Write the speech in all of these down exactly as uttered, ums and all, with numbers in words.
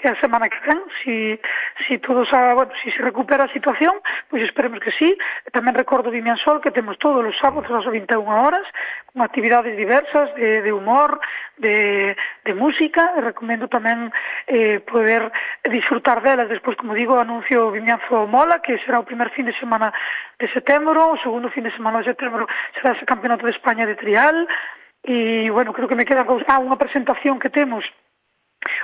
que a semana que ven, si, si todo sa, bueno, si se recupera a situación, pois esperemos que sí. Tamén recordo Vimiansol que temos todos os sábados ás vinte e unha horas, con actividades diversas de, de humor, de, de música, e recomendo tamén eh, poder disfrutar delas. Despois, como digo, anuncio Vimianzo Mola, que será o primer fin de semana de setembro, o segundo fin de semana de setembro será ese Campeonato de España de trial, e, bueno, creo que me queda ah, unha presentación que temos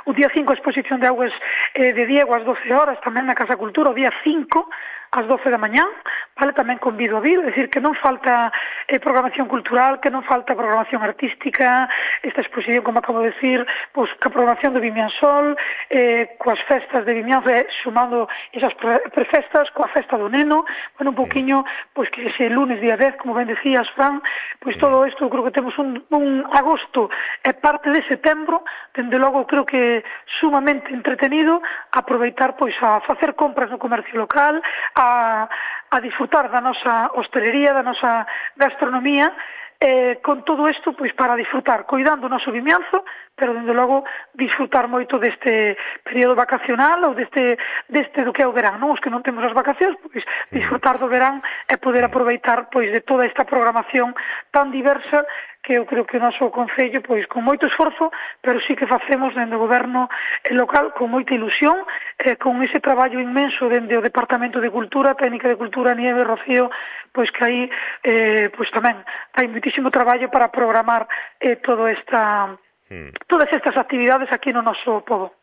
o día cinco, a exposición de augas eh, de Diego ás doce horas, tamén na Casa Cultura, o día cinco ás doce da mañán, vale, tamén convido a vir, é dicir, que non falta eh, programación cultural, que non falta programación artística, esta exposición, como acabo de decir, pois, que a programación de Vimiansol, eh, coas festas de Vimianzo, eh, sumando esas pre prefestas, coa festa do neno, bueno, un poquinho, pois, que ese lunes día dez, como ben decías, Fran, pois todo isto, creo que temos un, un agosto e parte de setembro, dende logo, creo que sumamente entretenido, aproveitar, pois, a facer compras no comercio local, a, a disfrutar da nosa hostelería, da nosa gastronomía, eh, con todo isto, pois, para disfrutar, cuidando o noso Vimianzo, pero, dende logo, disfrutar moito deste período vacacional ou deste, deste do que é o verán, non? Os que non temos as vacacións, pois, disfrutar do verán e poder aproveitar, pois, de toda esta programación tan diversa que eu creo que o noso Concello, pois, con moito esforzo, pero sí que facemos dende o goberno local con moita ilusión, eh, con ese traballo inmenso dende o Departamento de Cultura, Técnica de Cultura, Nieve, Rocío, pois que aí, eh, pois tamén hai moitísimo traballo para programar eh, todo esta, hmm. todas estas actividades aquí no noso pobo.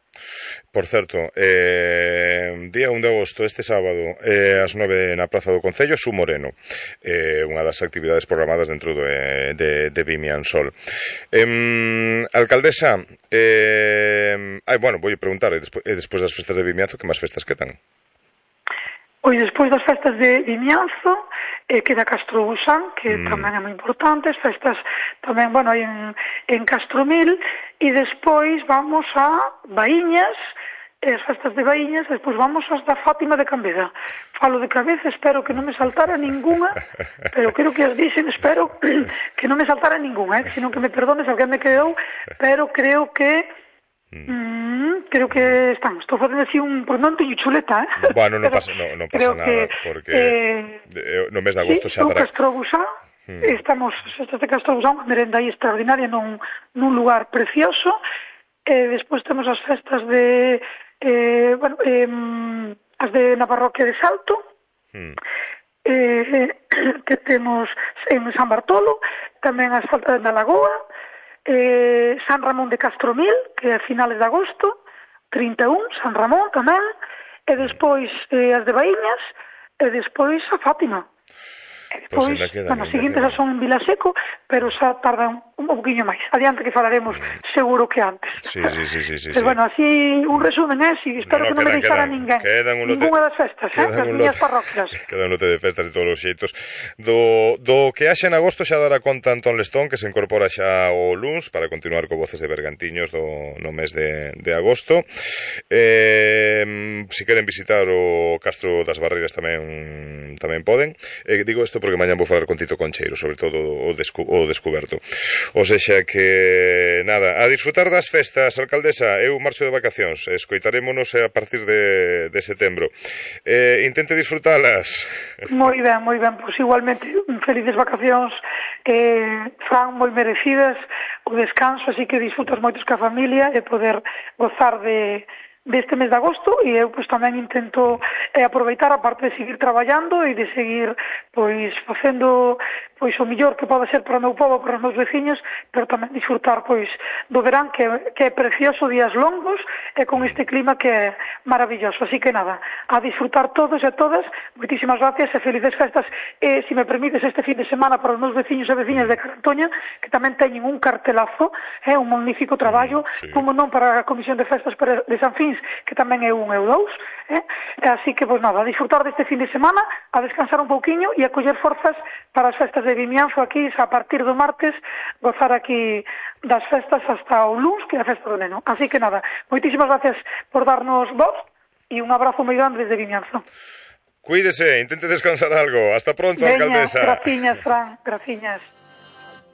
Por certo, eh, día un de agosto, este sábado, eh, ás nove na Praza do Concello, Su Moreno, eh, unha das actividades programadas dentro de, de, de Vimiansol. Eh, alcaldesa, eh, ai, bueno, vou preguntar, e despois, despois das festas de Vimianzo, que máis festas quedan? Pois despois das festas de Vimianzo, eh, queda Castrobusán, que mm. tamén é moi importante, as festas tamén, bueno, hai en, en Castromil, e despois vamos a Baíñas, as festas de Baíñas, despois vamos ás da Fátima de Cambeda. Falo de cabeza, espero que non me saltara ninguna, pero creo que as dixen, espero que non me saltara ninguna, eh, senón que me perdones, alguén me quedou, pero creo que Mm, creo que están. Estou facendo así un... Porque non teño chuleta, eh? Bueno, non pasa, no, non pasa nada, que, porque eh, no mes de agosto sí, xa dará... Castrobusán, mm. estamos, estas de Castrobusán, unha merenda aí extraordinaria nun, nun lugar precioso, e eh, despois temos as festas de... Eh, bueno, eh, as de na parroquia de Salto, mm. eh, que temos en San Bartolo, tamén as festas da Lagoa, Eh, San Ramón de Castromil, que é a finales de agosto, trinta e un, San Ramón tamén, e despois eh, as de Baíñas, e despois a Fátima. E despois, pues queda, bueno, as seguintes xa son en Vilaseco, pero xa tardan un poquinho máis. Adiante que falaremos mm. seguro que antes. Sí, sí, sí, sí, sí, pero sí. Bueno, así un resumen, eh, si espero no, no, que non me deixara ninguén. Ninguna das festas, eh, das miñas parroquias. Quedan un lote de festas de todos os xeitos. Do, do que haxe en agosto xa dará conta Antón Lestón, que se incorpora xa o luns para continuar co Voces de Bergantiños do, no mes de, de agosto. Eh, si queren visitar o Castro das Barreiras tamén tamén poden. Eh, digo isto porque mañan vou falar con Tito Concheiro, sobre todo o, descu o descuberto. O sexa que, nada, a disfrutar das festas, alcaldesa, eu marcho de vacacións, escoitarémonos a partir de, de setembro. Eh, intente disfrutalas. Moi ben, moi ben, pois igualmente, felices vacacións, eh, Fran, moi merecidas, o descanso, así que disfrutas moitos ca familia e poder gozar de... deste mes de agosto, e eu pois tamén intento eh, aproveitar a parte de seguir traballando e de seguir pois facendo pois o mellor que pode ser para o meu povo, para os meus veciños, pero tamén disfrutar pois do verán que, que é precioso, días longos e con este clima que é maravilloso. Así que nada, a disfrutar todos e todas, moitísimas gracias e felices festas, e se me permites este fin de semana para os meus veciños e veciñas de Carantoña, que tamén teñen un cartelazo, é eh, un magnífico traballo, sí. Como non para a Comisión de Festas de San Fins, que tamén é un e o dous, eh? Así que, pois nada, a disfrutar deste fin de semana, a descansar un pouquiño e a coller forzas para as festas de Vimianzo aquí, a partir do martes, gozar aquí das festas hasta o luns, que é a festa do neno. Así que nada, moitísimas gracias por darnos voz e un abrazo moi grande desde Vimianzo. Cuídese, intente descansar algo. Hasta pronto, Veña, alcaldesa. Graciñas, Fran, graciñas.